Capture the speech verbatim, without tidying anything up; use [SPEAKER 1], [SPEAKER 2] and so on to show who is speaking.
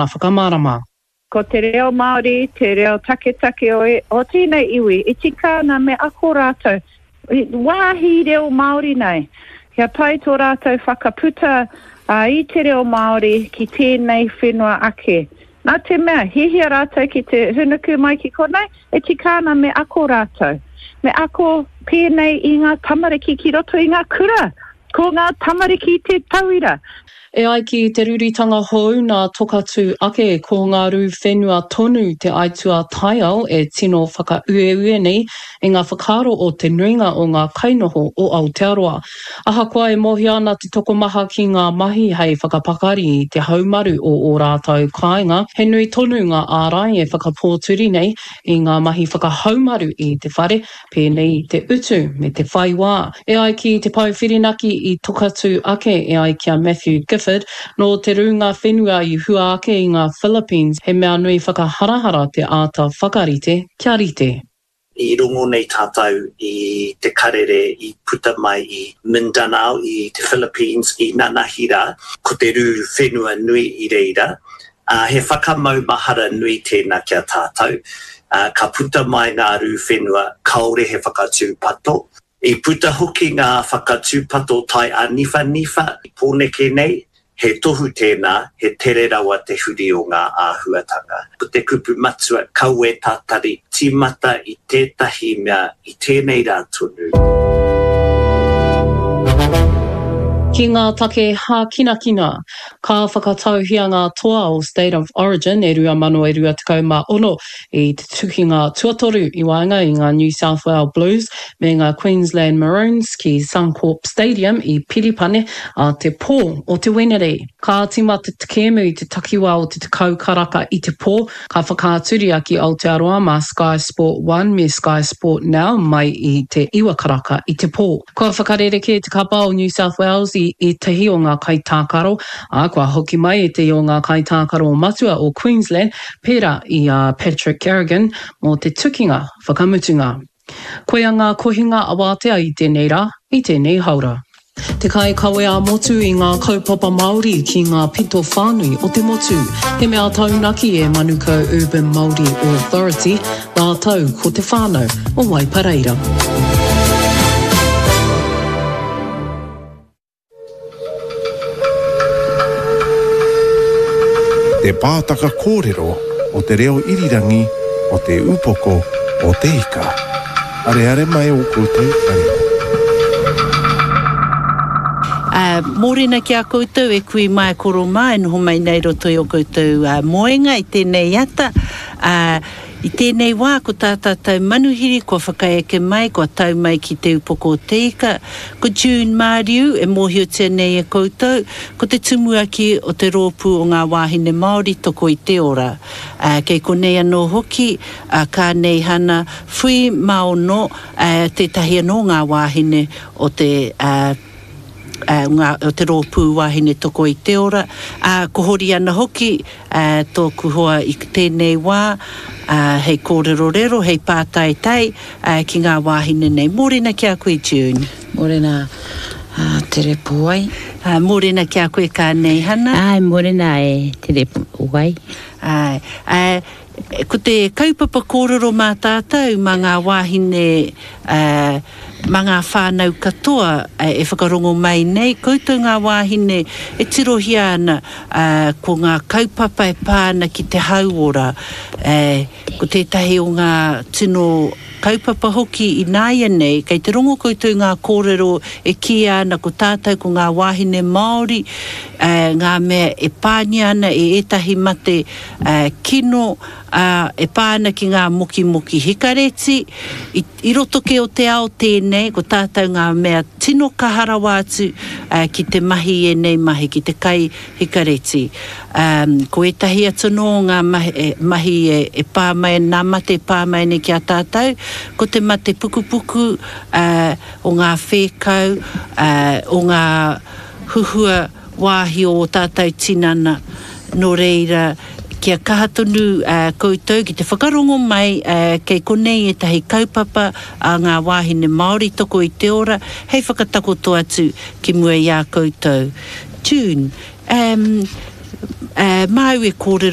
[SPEAKER 1] whakamārama.
[SPEAKER 2] Ko te reo Māori, te reo taketake o, e, o tēnei iwi, e tika ana me ako rātou, wāhi reo Māori nei, kia pai tō rātou whakaputa uh, i te reo Māori ki tēnei whenua ake. Nā te mea, hihia rātou ki te hunuku mai ki konei, e tika ana me ako rātou. Me ako pēnei i ngā tamariki ki roto i ngā kura. Ko ngā tamariki te tauira.
[SPEAKER 1] E ai ki te ruritanga hou nā Tokatū ake ko ngā rū whenua tonu te aituā taiao e tino whakaueue nei i ngā whakaaro o te nuinga o ngā kainoho o Aotearoa. Ahakoa e mōhio ana te tokomaha ki ngā mahi hei whakapakari i te haumaru o ō rātou kāinga, he nui tonu ngā ārai e whakapōturi nei i ngā mahi whakahaumaru i te whare, pēnei i te utu me te whai wā. E ai ki te Pou Whirinaki i Tokatū ake e ai ki a Matthew Gifford, nō te rūnga whenua i hua ake i ngā Philippines, he mea nui whakaharahara te āta whakarite kia rite.
[SPEAKER 3] I rongo nei tātou i te karere i puta mai i Mindanao, i te Philippines, i nanahi rā, ko te rū whenua nui i reira. Uh, he whakamaumahara nui tēnā ki a tātou. Uh, ka puta mai ngā rū whenua, kāore he whakatūpato. I puta hoki ngā whakatūpato tai āniwhaniwha i Pōneke nei, he tohu tēnā, he tere rawa te huri o ngā āhuatanga. Ko te kupu matua, kaua e tatari, tīmata i tētahi mea i tēnei rā tonu.
[SPEAKER 1] Ki ngā take hākinakina, ka whakatauhia ngā toa o State of Origin e rua mano e rua tekau mā ono i te tukinga tuatoru i waenga i ngā New South Wales Blues me ngā Queensland Maroons ki Suncorp Stadium i Piripane ā te pō o te Wenerei. Ka tīmata te kēmu i te takiwā o te tekau karaka i te pō, ka whakaaturia ki Aotearoa mā Sky Sport One me Sky Sport Now mai i te iwa karaka i te pō. Kua whakarerekē te kapa o New South Wales i ētahi o ngā kaitākaro, ā, kua hoki mai ētahi o ngā kaitākaro matua o Queensland, pērā i a Patrick Carrigan, mō te tukinga whakamutunga. Koia ngā kohinga awātea i tēnei rā, i tēnei haora. Te kaikawe ā-motu i ngā kaupapa Māori ki ngā pito whānui o te motu. He mea taunaki e Manukau Urban Māori Authority rātou ko te whānau o Waipareira.
[SPEAKER 4] Te Pātaka Kōrero o Te Reo Irirangi o Te Upoko o Te Ika. Areare mai ō koutou taringa.
[SPEAKER 5] Uh, mōrena ki a koutou e kui mā e koro mā e noho mai nei roto i o koutou uh, moenga i tēnei ata. Uh, i tēnei wā ko tā tātou manuhiri kua whakaeke mai, kua tau mai ki Te Upoko o Te Ika. Ko June Māriu e mōhiotia nei e koutou, ko te tumuaki o te rōpū o ngā wāhine Māori toko i te ora. Uh, kei konei anō hoki a Kāneihana Whui Maono, uh, tētahi anō ngā wāhine o te uh, ngā, o te rōpū wāhine toko i te ora, ā, ko Horiana hoki ā, tōku hoa i tēnei wā, ā, hei kōrerorero, hei pātaitai ā, ki ngā wāhine nei. Mōrena ki a koe, June.
[SPEAKER 6] Mōrena, ā, Tere Pōai.
[SPEAKER 5] Ā, mōrena ki a koe, Kāneihana.
[SPEAKER 6] Āe, mōrena e Tere Pōai.
[SPEAKER 5] Āe, ā, Ko te kaupapa kōrero mā tātou, mā ngā wāhine, mā ngā whānau katoa e whakarongo mai nei, koutou ngā wāhine e tirohia ana ko ngā kaupapa e pā ana ki te hauora, ko tētahi o ngā tino kaupapa hoki ināianei, kei te rongo koutou ngā kōrero e kīia ana ko tātou ko ngā wāhine Māori ngā mea e pāngia ana e ētahi mate kino, ā, e pā ana ki ngā mokimoki hikareti, i, i roto kē o te ao tēnei, ko tātou ngā mea tino kaha rawa atu ki te mahi i ēnei mahi, ki te kai hikareti. Ā, ko ētahi atu anō o ngā mahi, mahi e, e pā mai, nā mate e pā mai nei ki a tātou, ko te mate pukupuku, ā, o ngā whēkau, ā, o ngā huhua wāhi o ō tātou tinana, nō reira, kia kaha tonu koutou ki te whakarongo mai kei konei ētahi kaupapa a ngā wāhine Māori toko i te ora hei whakatakoto atu ki mua i a koutou. June, um, māu e kōrero.